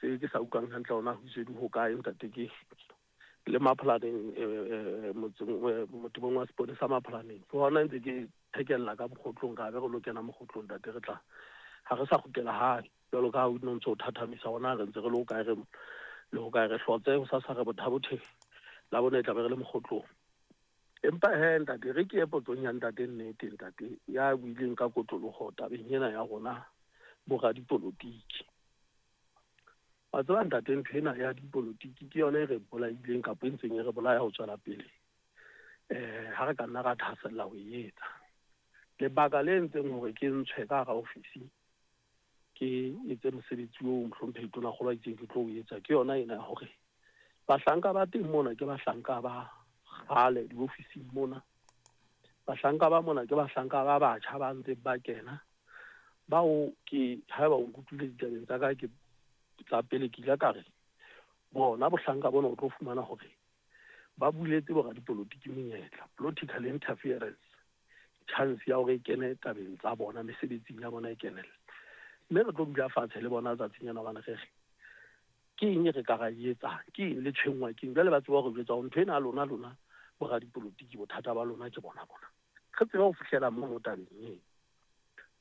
Tse ke sa utlwang hantle hore na ho itswe di hokae ntate ke le Mapholaneng motseng motebong wa sepolesa Mapholaneng. Ke hona ntse ke thekella ka mokgotlong ka be re lo kena mokgotlong ntate re tla ha re sa kgutlela hae jwalo ka ha o no ntso o thathamisa hore na re ntse re le hokae re le hokae re hlotse ho sasa re Botha-Bothe Labone e tla be re le mokgotlong. Empa he ntate re ke ye potsong ya ntate nnete ntate ya buileng ka kotloloho tabeng ena ya rona boradipolotiki. Wa tseba ntate ntho ena ya dipolotiki ke yona e re bolaileng kapa e ntseng e re bolaya ho tswela pele ha re ka nna ra thahasella ho e etsa. Lebaka le entseng hore ke ntshwe ka hara ofisi ke etse mosebetsi oo mohlomphehi Tonakgolo a itseng ke tlo o etsa ke yona ena ya hore bahlanka ba teng mona ke bahlanka ba kgale diofising mona. Bahlanka ba mona ke bahlanka ba batjha ba ntseng ba kena bao ke haeba o nkutlwile ditabeng tsa ka ke tsa pele ke ile ka re bona bohlanka bona o tlo fumana hore ba buletse boradipolotiki monyetla, political interference, chance ya hore e kene tabeng tsa bona mesebetsing ya bona e kenelle. Mme re tlo dula fatshe le bona tsatsing ena hobane re re ke eng e re ka ra e etsang, ke eng le tshwenngwa ke eng. Jwale ba tseba hore jwetsa hore ntho ena ya lona lona boradipolotiki bothata ba lona ke bona bona. Re tsebe ho fihlela mono tabeng eo.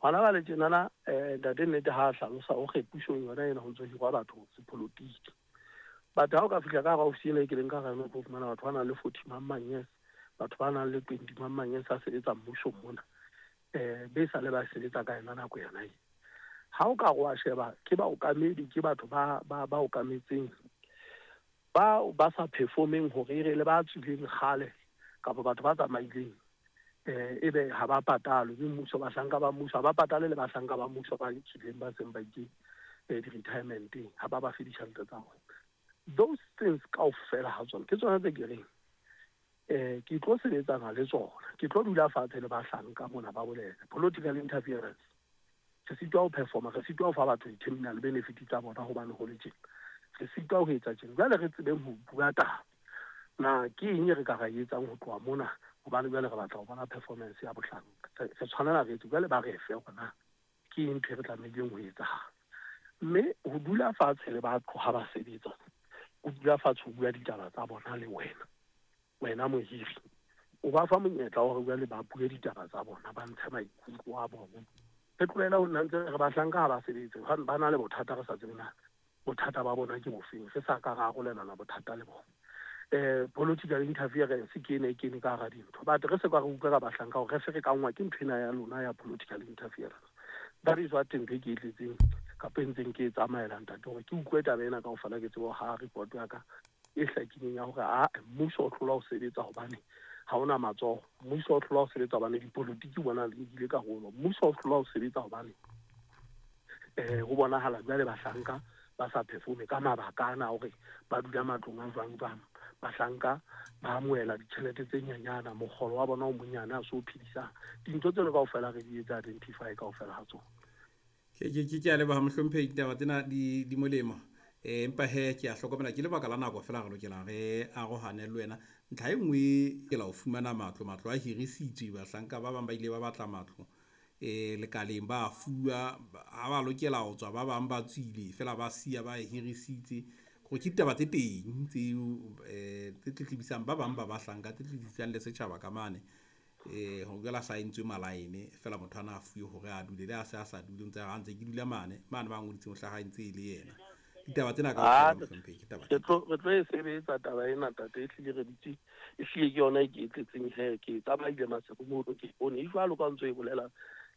Hona jwale tjenana ntate nnete ha a hlalosa o re pusong yona ena ho ntso hirwa batho sepolotiki. But ha o ka fihla ka hara ofisi ena e ke leng ka hara yona o tlo fumana batho ba nang le 40 mang mang years, batho ba nang le 20 mang mang years a sebetsa mmusong mona. Be sa le ba sebetsa ka yona nako yona e. Ha o ka re wa sheba ke baokamedi ke batho ba ba ba okametseng ba ba sa performeng hore e re le ba tswileng kgale kapa batho ba tsamaileng ebe ha ba patalwe mme mmuso bahlanka ba mmuso ha ba patale le bahlanka ba mmuso ba tswileng ba seng ba itse di-retirementeng ha ba ba fe ditjhelete tsa bona. Those things kaofela ha tsona ke tsona tse ke reng ke tlo sebetsana le tsona. Ke tlo dula fatshe le bahlanka mona ba bolele political interference. Re sitwa ho performa, re sitwa ho fa batho di-terminal benefit tsa bona hobane ho le tjena. Re sitwa ho etsa tjena. Jwale re tsebeng ho bua taba. Na ke eng e re ka ra e etsang ho tloha mona hobane jwale re batla ho bona performance ya bohlanka. Re tshwanela re etse jwale ba re fe hore na ke eng ntho e re tlamehileng ho etsahala. Mme ho dula fatshe le batho ha ba sebetsa, o dula fatshe ho bua ditaba tsa bona le wena, wena mohiri. O ba fa monyetla wa hore jwale ba bue ditaba tsa bona, ba ntshe maikutlo a bona. Re tlohele ho nna ntse re bahlanka ha ba sebetse, hobane ba na le bothata re sa tsebe na bothata ba bona ke bofeng, re sa ka ra arolelana bothata le bona. Political interference ke ena e kene ka hara dintho. But re se ka re utlwa ka bahlanka hore re ferekanngwa ke ntho ena ya lona ya political interference. That is what ntho e ke e tletseng kapa e ntseng ke e tsamaela ntate hore ke utlwe taba ena kaofela ke tsebe ho haha report ya ka e hlakileng ya hore ae mmuso o hlolwa ho sebetsa hobane ha ona matsoho. Mmuso o hlolwa ho sebetsa hobane dipolotiki bona di nkile karolo. Mmuso o hlolwa ho sebetsa hobane ho bonahala jwale bahlanka ba sa performe ka mabaka ana hore ba dula matlong a jwang jwang. Bahlanka ba amohela ditjhelete tse nyenyana, mokgolo wa bona o monyane ha se o phedisang. Dintho tseno kaofela re di etsa identify kaofela ha tsona. Ke a leboha mohlomphehi, ditaba tsena di molemo. Empa he ke a hlokomela ke lebaka la nako fela re lokela re arohane le wena. Ntlha e nngwe ke la ho fumana matlo, matlo a hirisitswe, bahlanka ba bang ba ile ba batla matlo lekaleng ba fuwa, ha ba lokela ho tswa ba bang ba tswile fela ba siya ba hirisitse. Hore ke ditaba tse teng tseo tse tletlebisang ba bang ba bahlanka, tse tletlebisang le setjhaba ka mane. Ho jwale sa entswe malaene fela motho ana a fuwe hore a dule, le ha se a sa dule o ntse a ntse ke dula mane, mane ba ngoditseng ho hlaha ntse e le yena. Ditaba tsena kaofela mohlomphehi ke taba Re tlo e sebetsa taba ena ntate, e hlile re dutse e hlile ke yona e ke e tletseng he ke tsamaile Maseru mono ke bone e jwalo ka ntso e bolela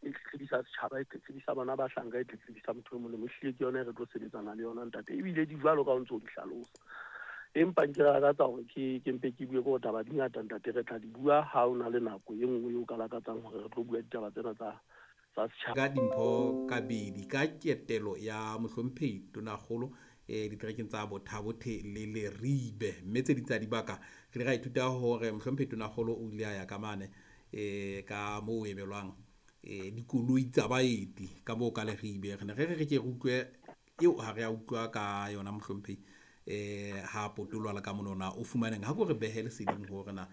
e tletlebisa setjhaba, e tletlebisa bona bahlanka, e tletlebisa motho e mong le mong. Ehlile ke yona e re tlo sebetsana le yona ntate, ebile di jwalo ka o ntso o di hlalosa. Empa nke lakatsa hore ke mpe ke bue ke hore taba di ngata ntate, re tla di bua ha o na le nako e nngwe eo ka lakatsang hore re tlo bua ditaba tsena tsa setjhaba. Ka dimpho kabedi ka ketelo ya mohlomphehi Tonakgolo diterekeng tsa Botha-Bothe le Leribe, mme tse ding tsa dibaka re ile ra ithuta hore mohlomphehi Tonakgolo o ile a ya ka mane ka moo ho emelwang dikoloi tsa baeti ka moo ka Leribe. Re ne re re re ke re utlwe eo ha re a utlwa ka yona mohlomphehi ha potoloha le ka monona o fumaneng ha ko re behe leseding hore na